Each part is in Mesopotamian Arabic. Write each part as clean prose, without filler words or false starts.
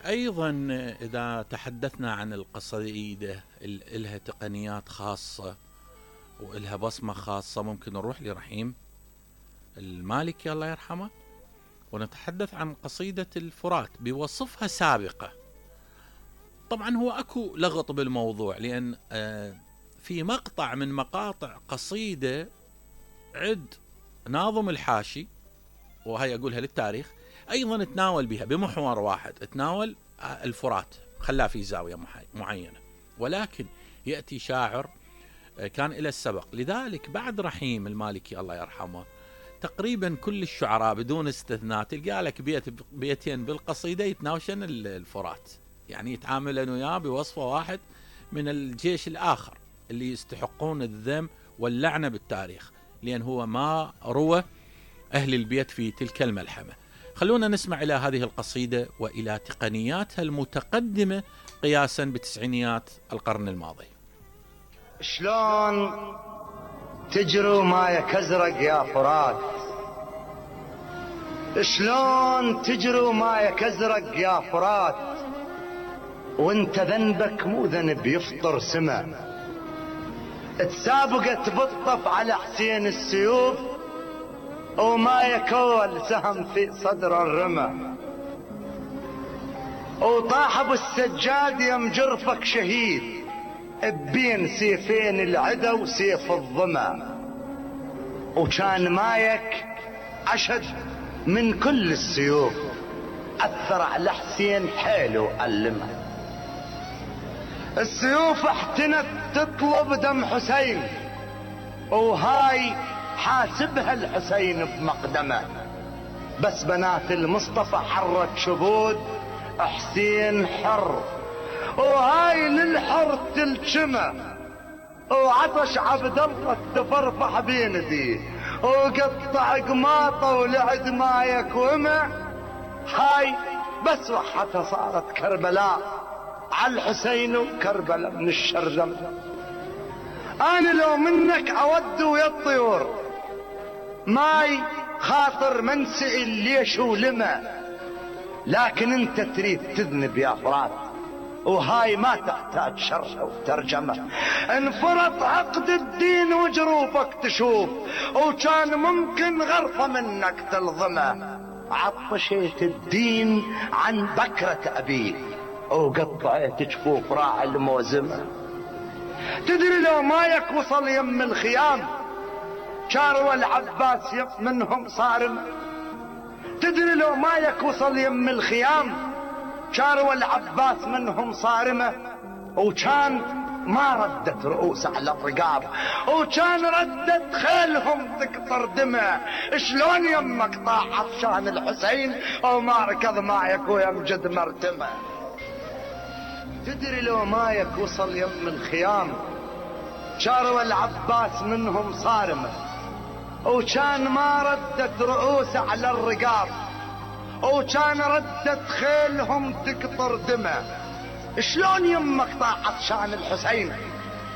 أيضا إذا تحدثنا عن القصيدة إلها تقنيات خاصة وإلها بصمة خاصة، ممكن نروح لرحيم المالكي الله يرحمه ونتحدث عن قصيدة الفرات بوصفها سابقة. طبعا هو أكو لغط بالموضوع، لأن في مقطع من مقاطع قصيدة عد ناظم الحاشي، وهي أقولها للتاريخ، أيضا تناول بها بمحور واحد، تناول الفرات، خلاه في زاوية معينة، ولكن يأتي شاعر كان إلى السبق. لذلك بعد رحيم المالكي الله يرحمه تقريبا كل الشعراء بدون استثناء تلقى لك بيتين بالقصيدة يتناوشن الفرات، يعني يتعاملن وياه بوصفه واحد من الجيش الآخر اللي يستحقون الذم واللعنة بالتاريخ، لأن هو ما روى أهل البيت في تلك الملحمة. خلونا نسمع إلى هذه القصيدة وإلى تقنياتها المتقدمة قياسا بتسعينيات القرن الماضي. شلون تجروا مايك ازرق يا فرات، شلون تجروا مايك ازرق يا فرات، وانت ذنبك مو ذنب يفطر سما، تسابقت بالطف على حسين السيوف ومايك اول سهم في صدر الرمى، وطاح ابو السجاد يم جرفك شهيد بين سيفين العدا وسيف الظما، وكان مايك أشد من كل السيوف، أثر على حسين حيل وألمه. السيوف احتنت تطلب دم حسين، وهاي حاسبها الحسين بمقدمه، بس بنات المصطفى حرت شبود حسين حر، وهاي للحر تلجمه، وعطش عبد الله تفرفح بيندي، وقطع قماطه ولعد مايك وما، هاي بس وحتها صارت كربلاء على الحسين وكربلاء من الشرذم. انا لو منك اود ويا الطيور ماي خاطر منسئل ليش ولما، لكن انت تريد تذنب يا فرات، وهاي ما تحتاج شرح وترجمة. انفرط عقد الدين وجروفك تشوف، وكان ممكن غرفة منك تلظمه، عطشت الدين عن بكرة أبيك وقطعت جفوف راعي الموزمة. تدري لو مايك وصل يم الخيام شاروا العباس منهم صارم، تدري لو مايك وصل يم الخيام شاروا العباس منهم صارمة، وكان ما ردت رؤوس على الرقاب، وكان ردت خيلهم تقطر دمه. شلون يمك طاح عطشان الحسين وما ركض مايك ويمجد مرتمه. تدري لو مايك وصل يم الخيام شاروا العباس منهم صارمة، وكان ما ردت رؤوس على الرقاب، وكان ردت خيلهم تقطر دمه. شلون يمك طاح عطشان الحسين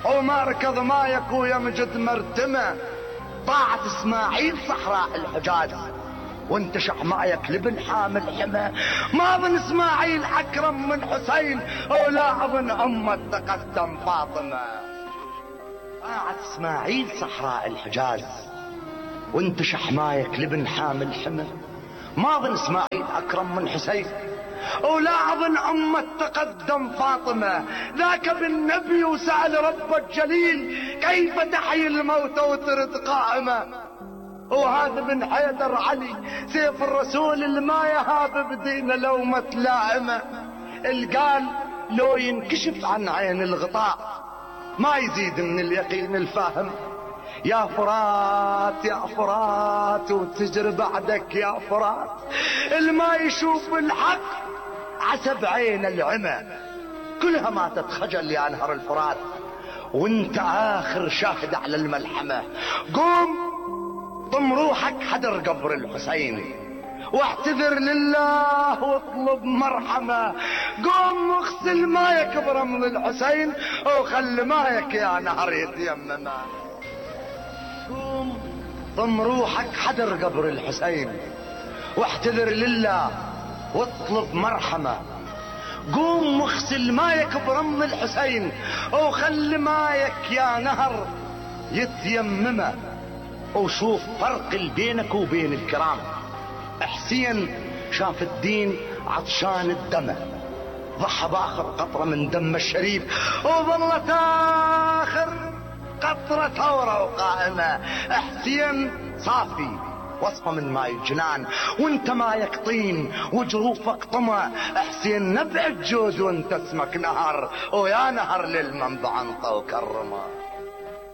وما ركض مايك ويمجد مرتمه. طاعت اسماعيل صحراء الحجاز وانتشح مايك لبن حامل حمى، ما ظن اسماعيل اكرم من حسين ولا اظن امه تقدم فاطمه. طاعت اسماعيل صحراء الحجاز وانتشح مايك لبن حامل حمى، ما ظن اسماعيل اكرم من حسين ولا اظن امه تقدم فاطمه. ذاك بالنبي وسأل رب الجليل كيف تحيي الموت وترد قائمه، وهذا بن حيدر علي سيف الرسول اللي ما يهاب بدينه لومة لائمه. القال لو ينكشف عن عين الغطاء ما يزيد من اليقين الفاهم. يا فرات يا فرات وتجري بعدك يا فرات، اللي ما يشوف الحق عسب عين العمى، كلها ما تتخجل يا نهر الفرات وانت اخر شاهد على الملحمة. قوم ضم روحك حدر قبر الحسين واعتذر لله واطلب مرحمة. قوم واغسل مايك برمل الحسين وخلي مايك يا نهر يتيمم. قوم ضم روحك حدر قبر الحسين واعتذر لله واطلب مرحمة. قوم واغسل مايك برم الحسين، وخلي مايك يا نهر يتيممه، وشوف فرق بينك وبين الكرام. حسين شاف الدين عطشان الدم، ضحى باخر قطرة من دم الشريف، وظلت اخر قطرة ثورة وقائمة. حسين صافي وصفة من ماي الجنان، وانت مايك طين وجروفك طمع. حسين نبع الجود وانت اسمك نهر، ويا نهر للمنبع انطى وكرمه.